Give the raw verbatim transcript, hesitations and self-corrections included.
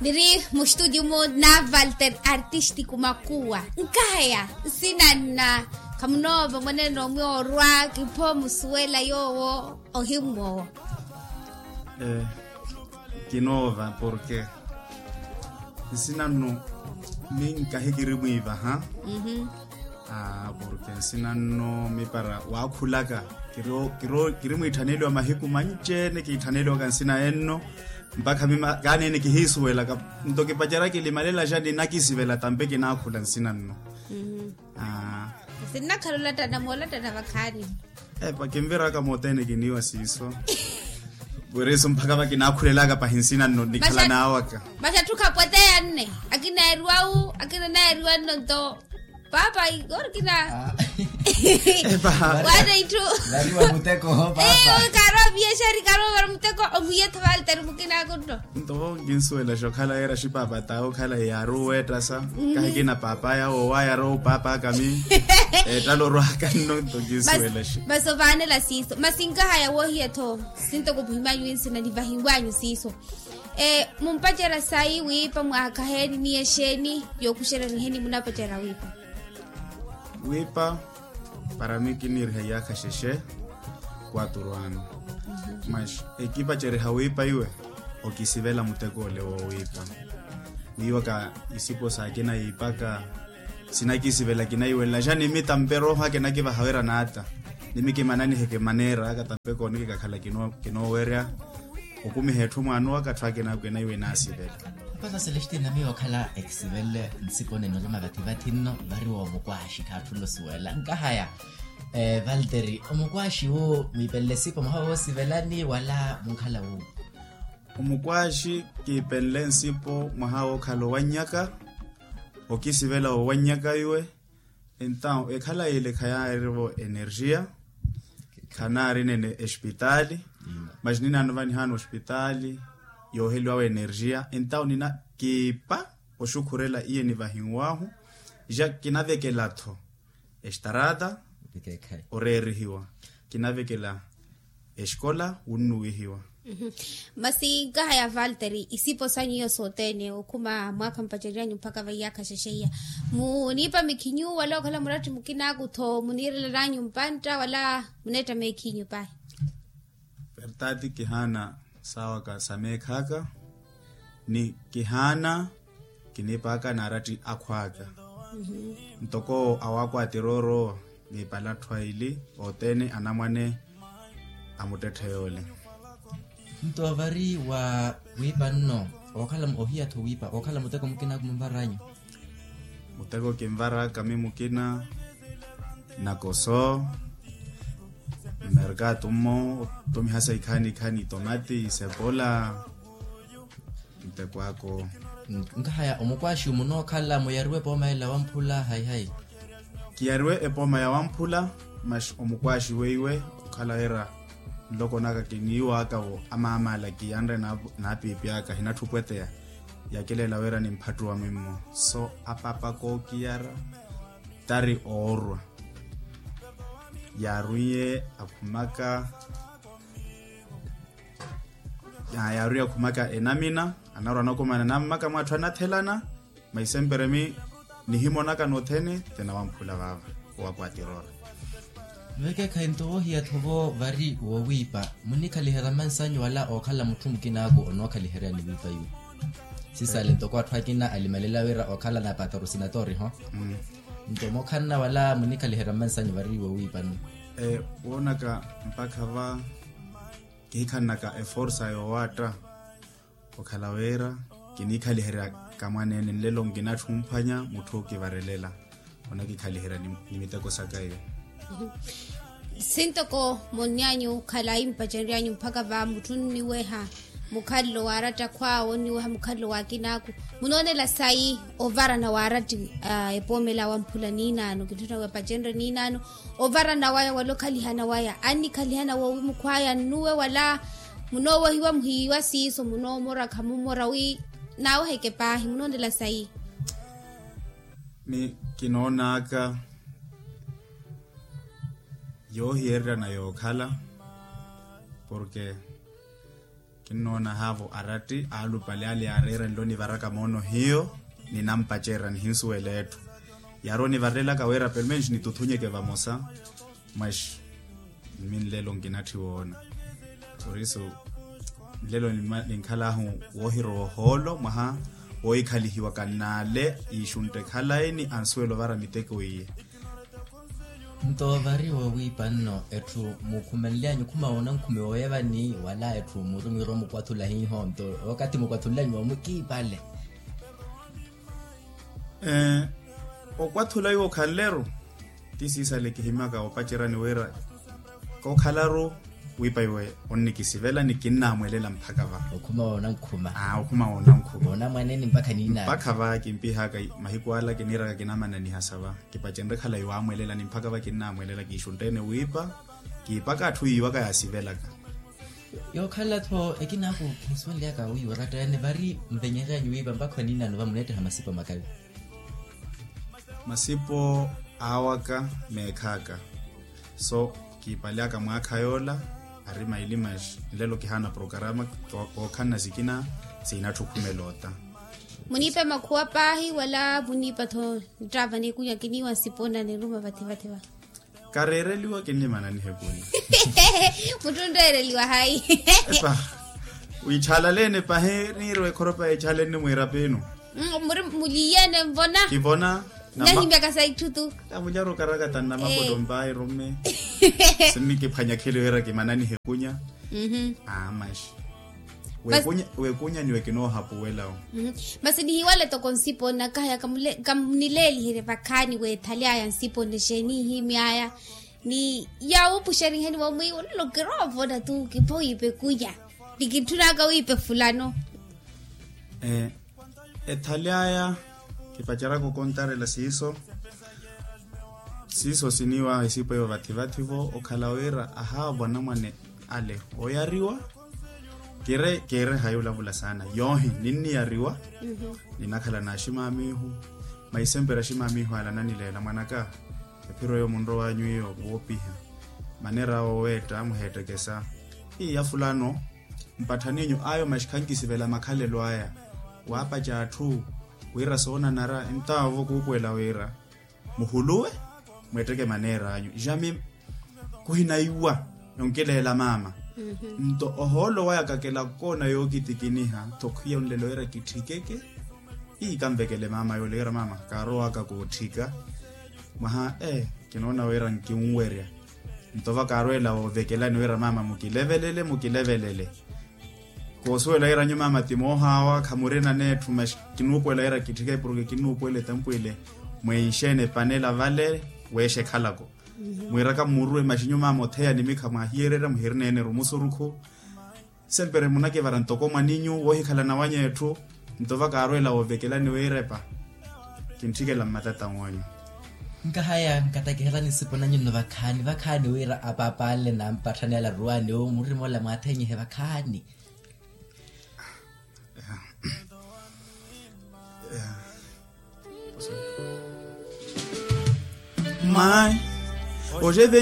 Niri mustutio mu na valter artistico makuwa. Nkahaya nsina nna khamunoova mwanene omwe orwa kipho musuwela yoowo. Ohimmwowo. Kinoova porke nsina nno minkahikiri mwiivaha. Porke nsina nno mipara waakhulaka kiri mwiitthaneliwa mahiku manci-ene kiitthaneliwaka nsina enno. Mpakha mima kaanene kihiisuwelaka nto kipacerya kilimalela xa ninakisivela tampe kinaakhula nsina nno. Sinnakhala olattana moolattana vakhaani. Epa kinviraka mothene kiniiwa siiso. Wiriiso mpakha vakinakhulelaka pahi nsina nno nikhala naawaka. Maxa tthukha pweteya nne akina eriwa wu akina naeriwa nno nto. Paapa ori kina. Epa. Wana itthu. Nariwa muteko paapa. Eyo karo biashari karo muteko omuyetho valteri mukinaku nno. Nto vo nkinsuwelaxa okhala yeera xipapataawe okhala yaaruwa eettasa. Kahikina paapaya woowa yaarowa opaapaka mi. Eettala orwaka nno nto nkinsuwelaxa. Masi ovaanela siiso masi nkahaya woohiya-tho. Sintoko muhimanyu nsina nivahiwanyu siiso. Mumpacerya sayi wiipa mwaakha heeni ni exeeni yookuxerya niheni munapacerya wiipa. Wiipa para mi kiniiriha iyaakha xexe. Quatro ano mas ekipaceriha wiipa iwe okisivela muteko ole woowiipa. Wiiwaka isipo saakina yiipaka sinakisivela kinaiwelela xa nimi tampe rooho ake nakivaha wira naata nimi kimananiheke maneera aka tampe kooneke kakhala kinoowerya. Okumiha etthu mwaana owaka atthu akina akwena iwe naasivela. Mpasa selestine miyo okhala ekisivelele nsiponi ene olima vatthi-vatthi nno vari woomukwaaxi khaatthula osuwela nkahaya. Valteri omukwaaxi wu mwiipenle sipo mwaha woosivelani wala munkhala wu? Omukwaaxi kiipenle nsipo mwaha wookhala owannyaka. Okisivela owannyaka iwe. Entaw ekhala yile khayaarivo energia. Khanaari nene espitaali mas ninaano vanihaana ospitaali yooheliwawe energia entaw nina kiipa oxukhurela iye nivahinwahu. Ja kinavekela-tho estarata oreerihiwa kinavekela exikola wunnuwihiwa. Masi nkahaya valteri isipo sanyu iyo sothene okhuma mwaakha mpaceryanyu mpakha vaiyaakha xexeiya muniipa mikhinyu wala okhala muratti mukinaku-tho muniirelananyu mpantta wala muneetta meekhinyu pahi? Vertati kihaana saawaka sa meekhaaka ni kihaana kiniipaka n'aratti akhw'aka. Ntoko awakwatira orowa niipala atthu aili othene anamwane a muttetthe yoole. Nto vari wa wiipa nno ookhala ohiya-tho wiipa ookhala muteko mukina kumunvar'anyu? Muteko kinvar'aka mi mukina nakoso mmerkatu mmo ottumihasa ikhaani-ikhaani tomati sepola. Ntekwako. Nkahaya omukwaaxi munookhala muyariwe epooma ela wamphula hayi-hayi? Kiyariwe epooma ya wamphula mas omukwaaxi weiwe okhala wira nloko naka kiniiwaka wo amaamala kiyanre naapiipi aka hinatthupweteya. Yakileela wira nimphattuwa mimmo so apapa kookiyara tari oorwa. Yaarwiye akhumaka yaari akhumaka enamina anarwa anakumana nammaka mwatthu anathelana. Maisempere mi nihimonaka nothene tenawamphula vaava owakwatirora. Vekeekhayi nto woohiya-tho vo vari woowiipa munikhaliherya mmansanyu wala ookhala mutthu mukinaaku onookhaliheryani wiipa iwe? Sisale ntoko atthu akina alimelela wira okhala na pataru sinatoriho. Nto mookhanna wala munikhaliherya mmansanyu vari woowiipa nnu? Woonaka mpakha va kihikhanaka eforsa yoowaatta okhala wira kiniikhaliherya kamwaneene nlelo nkinatthu omphwanya mutthu ookivarelela onakikhaliherya ni miteko saka iyo. Sintoko monny'anyu khalayi mpaceryanyu mpakha va mutthu onniweha mukhalelo wa aratta akhw'awe onniweha mukhalelo wa akin'aku munoonela sayi ovarana wa aratti epoomela wamphula niinaano kintthuna wepacenrye niinaano ovarana waya wala okhalihana waya annikhalihana woowi mukhw'aya nnuwe wala munoowehiwa muhiiwa siiso munoomora khamummora wi naaweheke paahi munoonela sayi? Ni kinoon'aka yoohiyereryana yookhala porke Kinnoona haavo aratti aalupale ale yaareera nlo nivaraka moono hiyo, ninampacerya nihinsuwela etthu. Yaari onivarelaka wira pelomenxi nituthunyeke vamosa. Mwaxi, mmi nlelo nkinatthi woona. Por isso nlelo ninkhal'ahu woohirowa ohoolo mwaha woohikhalihiwaka n'ale iixuntte khalayi ni ansuwela ovara miteko iye. Nto vari woowiipa nno etthu muukhumanly'anyu okhuma woona nkhume wooyevani wala etthu muuri mwiira omukwathula hiiho nto wakathi mukwathul'anyu woomukiipale. Okwathula iwo okhanleru ti siisale kihimaka opaceryani wira kookhalaru wiipa iwe onnikisivela ni kinnamwelela mpakha va. Okhuma woona nkhuma. Aa okhuma woona nkhuma woona mwanene mpakha niinawe mpakha va kimpihaka mahiku ala kiniiraka kinamananihasa va. Kipacenre khalayi waamwelela ni mpakha va kinnamwelela kiixuntte-ene wiipa. Kiipaka atthu yiiwaka yaasivelaka. Yookhala-tho ekinaku khinsuwenlyaka wiiwa oratta yaani vari nvenyeryanyu wiipa mpakha oniinano va muneetteha masipo makawi. Masipo aawaka meekhaka. So kiipalyaka mwaakha yoola ari maili maxi nlelo kihaana prokarama. Kookhanna sikina siinatthukhumela ota. Muniipe makhuwa paahi wala muniipa-tho nttaava n'ekunya kiniiwa nsipo na niruma vathi vathi va. Kareereliwa kinnimananiha ekunya. Mutthu onreereliwa hayi? Epa. Wiichaalaleene pahi niirwa ekhoropa yeechaalenne mwiirapiinu. Muri muliiyene nvona. Kivona. Nahimyaka sa itthu tu. Kamunyara okarakata nnamapotto mpaayi rumme. Sinnikiphwanya kheli wira kimananihe ekunya. Aamaxi. Weekunya ni wekinoohapuwela-wo. Masi nihiwale toko nsipo nna kahaya kamnileeliherye vakhaani weethaly'aya nsipo nne xeeni ihimy'aya. Ni yaawuupuxeriheni wamwiiwa nlo kiroovona tu kiphowiipa ekunya. Ni kintthunaka wiipa efulano. Ethali aya kipaceraka okontarela siiso. Siiso siniiwa isipo eyo vathi vathi-vo okhala wira ahaavo anamwane ale oyariwa. Kiire kiire hayi olavula saana yoohi ninniyariwa. Ninakhala n'aximaamihu. Maisempera aximaamihu ale ananileela mwanaka ephiro eyo munrowanyu iyo woopiha. Maneera awo oweetta muheettekesa. Iya fulano mpatthaninyu ayo maxi khankisivela makhalelo aya. Waapaca atthu wira soonanara entaavo kuupuwela wira muhuluwe mweetteke maneer'anyu jami. Kuhinaiwa yonkileela maama. Nto ohoolo waya kakela koona yookitikiniha tho khwiya onlelo wira kitthikeke. Ii kanvekele maama yoole wira maama kaarowaka kootthika. Mwaha ee kinoona wira nkinwerya. Nto va kaarweela woovekelani wira maama mukilevelele mukilevelele. Koosuwela wira nyu maama ti moohaawa khamurina neetthu maxi kinuupuwela wira kitthike porke kinuupuwela etampwile. Mwenxeene epanela vale weexa ekhalako. Mwiiraka mmuruwe maxi nyu maama otheya nimikha mwaahiyererya muhirina ene-ru musurukhu. Sempere munakivara ntoko mwaninyu woohikhalana wanyu etthu. Nto va kaarweela woovekelani wiirepa kintthikela mmatata w'anyu. Nkahaya nkatakiherani nsipo nanyu nno vakhaani vakhaani wira apaapa ale nampatthanela aruwani owo murima ola mwaathenyihe vakhaani. Mayi.